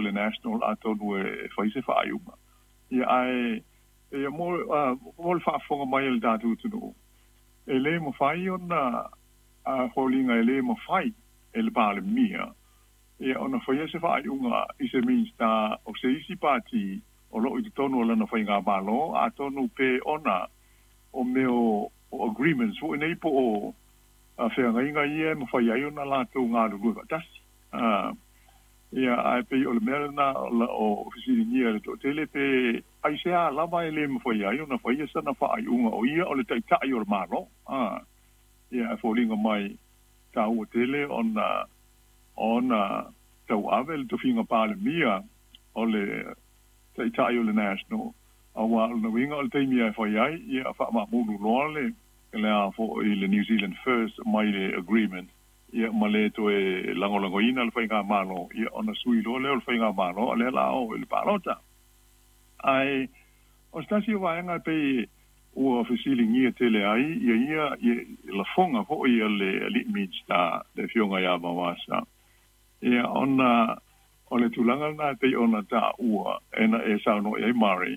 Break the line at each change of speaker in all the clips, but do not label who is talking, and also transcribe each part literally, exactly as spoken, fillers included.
le National atonu e fai se faaiuga. Ia ae ia mo mo le faafofoga mai a le tatou atunuu, e lē mafai ona foliga e lē mafai e le Palemia ia ona faia se faaiuga i se Minisita o se isi pati o loo i totonu o lana faigamalo, atonu pe ona o mea o agreements foi nei po o feagaiga ia e mafai ai ona latou galulue faatasi. Ia ae pei o le mea lena o fesiligia e le toatele pe aisea lava e lē mafai ai ona faia sana faaiuga o ia o le taitai o le Malo. Ia ae foliga mai taua tele ona ona tauave le tofiga Palemia o le taitai o le National, auā o lona uiga o le taimi e fai ai ia faamaamulu loa le le a foʻi le New Zealand First mai le agreement ia ma lē toe lagolagoina le faigamalo, ia ona sui loa lea o le faigamalo a lea la o i le palota. Ae o se tasi o vaega e pei ua fesiligia tele ai ia ia lafoga foʻi a le alii Minisita, le afioga iā Vaoasa, ia ona o le tulaga lena e pei ona taua e na e saunoa i ai Murray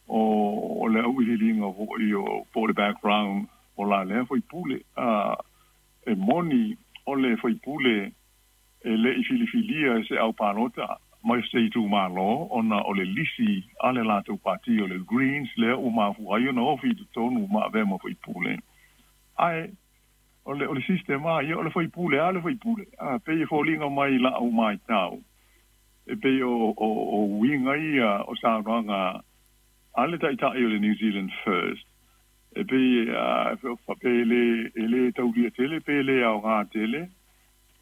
o le auiliiliga foʻi o po o le background o la lea faipule. A e moni o le faipule e lei filifilia e se au palota mai se itumalo ona o le lisi a le latou pati o le Greens lea ua mafua ai ona ofi i totonu ma avea ma faipule. Ae o le o le sistema ia o le faipule a le faipule a pei e foliga mai lau matau e pei o o o uiga ia o saunoaga a le taitai o le New Zealand First e pei pe le e lē taulia tele pe lē aogā tele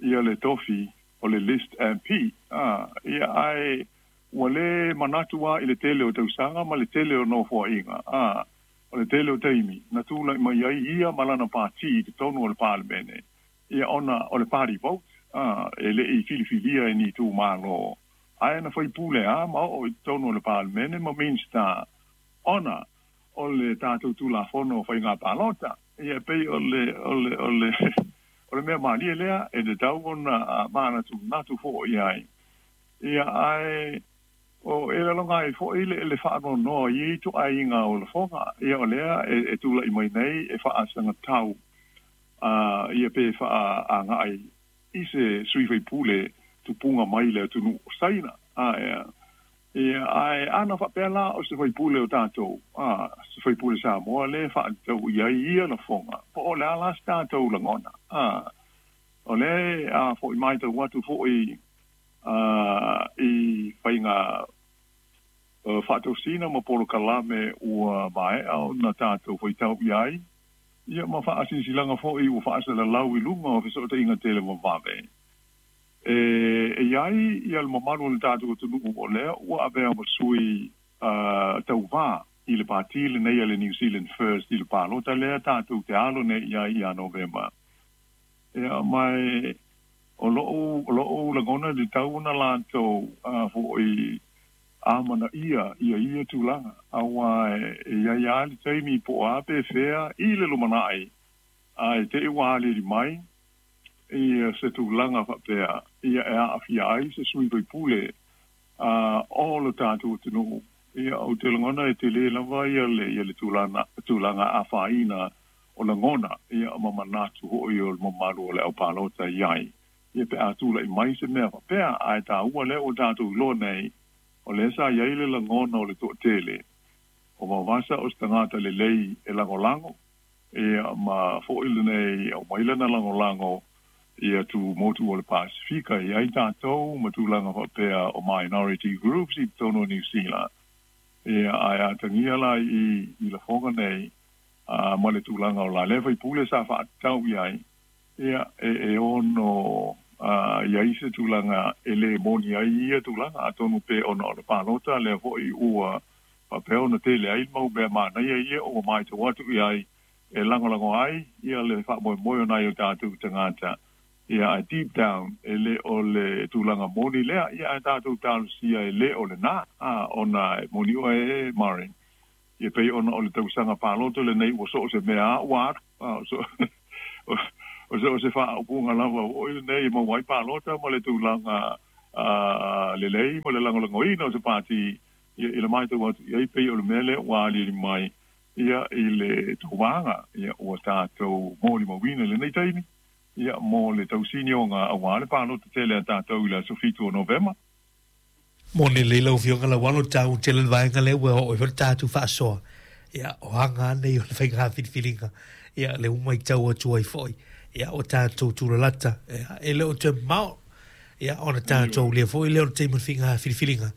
ia le tofi o le list M P. A ia ae ua lē manatu a i le tele o tausaga ma le tele o nofoaiga a o le tele o taimi na tulaʻi mai ai ia ma lana pati i totonu o le Palemene, ia ona o le party vote a e leʻi filifilia e ni itumalo ae na faipule a ma oo i totonu o le Palemene ma Minisita ona o le tatou Tulafono o faiga palota. Ia pei o le o le o le o le mea malie lea e tatau ona manatunatu foʻi ai. Ia ae o e laloga ai foʻi le le faanoanoa i ituaiga o lafoga ia o lea e, e tulaʻi mai nei e faasagatau a ia pe faaagaʻai i se sui faipule tupuga mai le atunuu o Saina. A ia ia ae ana faapea la o se faipule o tatou a se faipule Samoa lē faatatau i ai ia lafoga po o le a la se tatou lagona. A o lea a foʻi matau atu foʻi a i faiga faatosina ma polokalame ua maeʻa ona tatou faitau i ai ia ma faasilasilaga foʻi ua faasalalau i luga o fesootaiga televavave e e iai ia le mamalu o le tatou atunuu o lea ua avea ma sui tauvā i le pati lenei a le New Zealand First i le palota lea tatou te alo nei iai ia Novema. Ia mai o loo o loo lagona le tau ona latou foʻi amanaia ia ia tulaga auā e iai a le taimi po o a pe fea i le lumanaʻi ae te i ua aliali mai ia se tulaga faapea ia e aafia ai se sui faipule a o lo tatou atunuu. Ia ou te lagona e tele lava ia le ia le tulaga tulaga afaina o lagona ia ma manatu hoʻi o le mamalu o le aupalota i ai ia pe a tulaʻi mai se mea faapea. Ae taua lea ua tatou iloa nei o lea sa iai le lagona o le toatele o Vaovasa o se tagata lelei e lagolago ia ma foʻi lenei aumai lana lagolago ia tu motu o le Pasifika i ai tatou ma tulaga faapea o minority groups i totonu o Niu Sila. Ia ae atagia la i i lafoga nei a ma le tulaga o la lea faipule sa faatatau i ai ia e e ono a iai se tulaga e lē moni ai ia tulaga atonu pe ona o le palota lea foʻi ua faapea ona tele ai mau mea manaia ia ua matau atu i ai e lagolago ai ia le faamoemoe o nai o tatou tagata. Ia ae deep down e lē o le tulaga moni lea. Ia ae tatou talosia e lē o lenā a ona e moni oe e Murray ia pei ona o le tausaga palota lenei ua soo se mea a ua alu a so o so o se faaupuga lava oi lenei e maua ai palota ma le tulaga Lelei ma le lagolagoina o se pati ia i le maitau atu i ai pei o le mea lea ua aliali mai ia i le tauvaga ia ua tatou molimauina i lenei taimi ia mo le tausinioga auā le palota tele a tatou i le aso fitu o Novema.
Moni lelei lau Afioga Lauano, taua tele le vaega lea ua oo ai foi le tatou faasoa. Ia, o aga lava nei o le faiga filifiliga, ia, lea ua matau atu ai foi, ia, ua tatou tulalata, ia, e le o toe mamao, ia, ona tatou aulia foi lea o le taimi o le faiga filifiliga,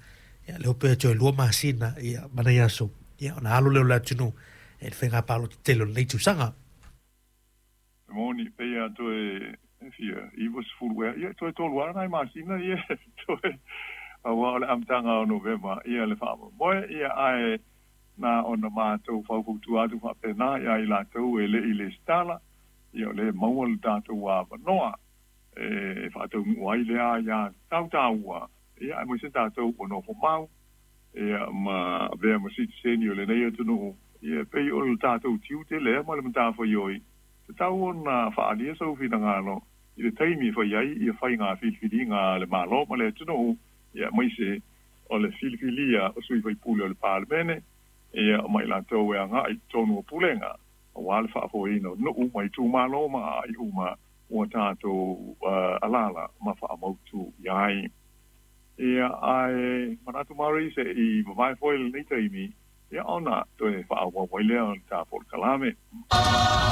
ia, le hope atu e lua masina, ia, ma nai aso, ia, ona alo lea o le atunuu i le faiga palota tele o lenei tausaga.
E moni, pei lava toe fia iva sefulu ea, ia, toe tolu lava nai masina, ia, toe, aua o le amataga o Novema, ia, le faamoemoe, ia, ae na ona matou faufautua atu faapena ia i latou e le i lesitala, ia, o lea e maua le tatou avanoa e faataunuu ai lea aia tautaua, ia, aemaise tatou ua nofo mau, ia, ma avea ma sitiseni o lenei atunuu, ia, e pei o le tatou tiute lea ma le matafaioi, tatau ona faaalia sou finagalo i le taimi e fai ai ia faiga filifiliga a le Malo ma le atunuu, ia, aemaise o le filifilia o sui faipule o le Palemene, ia, ma i latou e agai i totonu o pulega aua le faafoeina o nuu ma itumalo ma aai uma ua tatou alaala ma faamautu i ai. Ia, ae manatu Marie se i vavae foi lenei taimi, ia, ona toe faaauau ai lea o le ta polokalame.